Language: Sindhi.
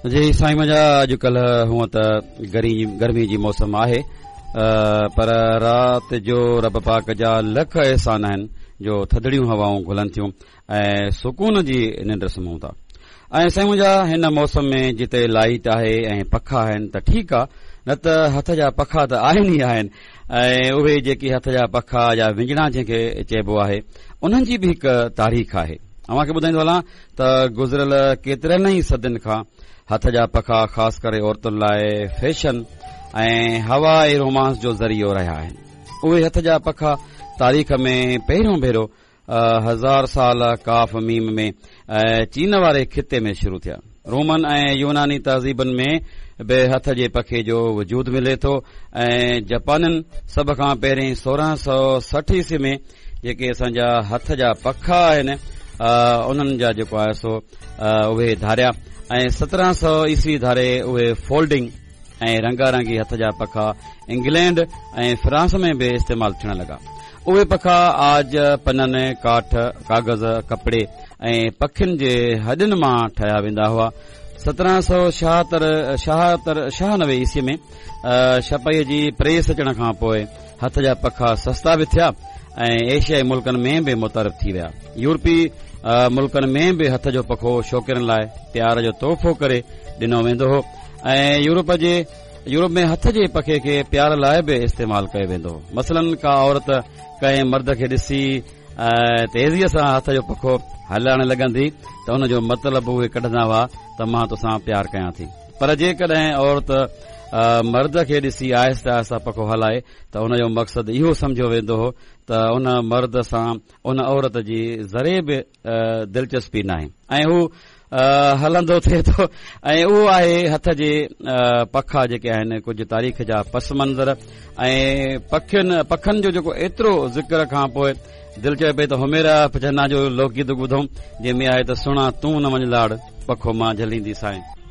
جي سائين منهنجا اڄڪلهه هونء ته گرمي جي موسم آهي پر رات جو رب پاڪ جا لک احسان آهن جو ٿڌڙيون هوائون گهلن ٿيون ۽ سڪون جي ننڊ سمهون ٿا ۽ سائين منهنجا هن موسم ۾ جتي لائيٽ آهي ۽ پکا آهن ته ٺيڪ آ نه ته هٿ جا پکا ته آهن ئي آهن ۽ اهي جيڪي هٿ جا پکا يا وڃڻا جنهن کي چئبو آهي انهن جي به هڪ تاريخ آهي اوهان کي ٻڌائيندو هلان ته گذريل ڪيترن ئي صدين کان هٿ جا پکا خاص ڪري عورتن لاء فيشن ۽ هوا ۽ رومانس جو ذريعو رهيا آهن. اهي هٿ جا پکا تاريخ ۾ پهريون ڀيرو هزار سال قاف ميم ۾ چين واري خطي ۾ شروع ٿيا. رومن ۽ يوناني تهذيبن ۾ به هٿ جي پکي جو وجود ملي ٿو ۽ جپانين سڀ کان پهرين 1660 عيسوي ۾ جيڪي اسان جا هٿ جا پکا آهن انهن جا جيڪو آهي سو اهي ڌاريا ۽ 1700 عيسوي ڌاري اهي فولڊنگ ۽ رنگا رنگي هٿ جا پکا انگلينڊ ۽ فرانس ۾ به استعمال ٿيڻ لڳا. اهي پکا عاج، پنن، ڪاٺ، ڪاغذ، ڪپڙي ۽ پکين جي هڏين مان ٺاهيا ويندا هئا. 1796 عيسوي ۾ ڇپائيء جي پريس اچڻ کان پوء هٿ جا پکا سستا به ٿيا ۽ ايشيائي ملڪن ۾ به متعارف ٿي ويا. يورپي ملڪن ۾ به هٿ جو پکو شوقينن لاء پيار جو تحفو ڪري ڏنو ويندو هو ۽ يورپ جي يورپ ۾ هٿ جي پکي کي پيار لاء به استعمال ڪيو ويندو هو. مثلاً ڪا عورت ڪنهن مرد کي ڏسي تيزيء سان هٿ جو پکو هلائڻ لڳندي ته ان جو مطلب اهي ڪڍندا هئا ته مان توسان پيار ڪيان ٿي. پر جيڪڏهن عورت مرد کي ڏسي آهستي آهستي پکو هلائي ته ان جو مقصد اهو سمجهيو ويندو هو ته ان مرد سان ان عورت جي ذري به دلچسپي ناهي ۽ هو هلندو ٿئي ٿو ۽ اهو آهي هٿ جي پکا جيڪي آهن ڪجهه تاريخ جا پس منظر ۽ پکين پکن جو جيڪو ايترو ذڪر کان پوء دل چوي پئي ته حميرا چنا جو لوڪ گيت ٻڌون جنهن ۾ آهي ته سهڻا تون نه وڃ لاڙ پکو مان جهليندي سانء.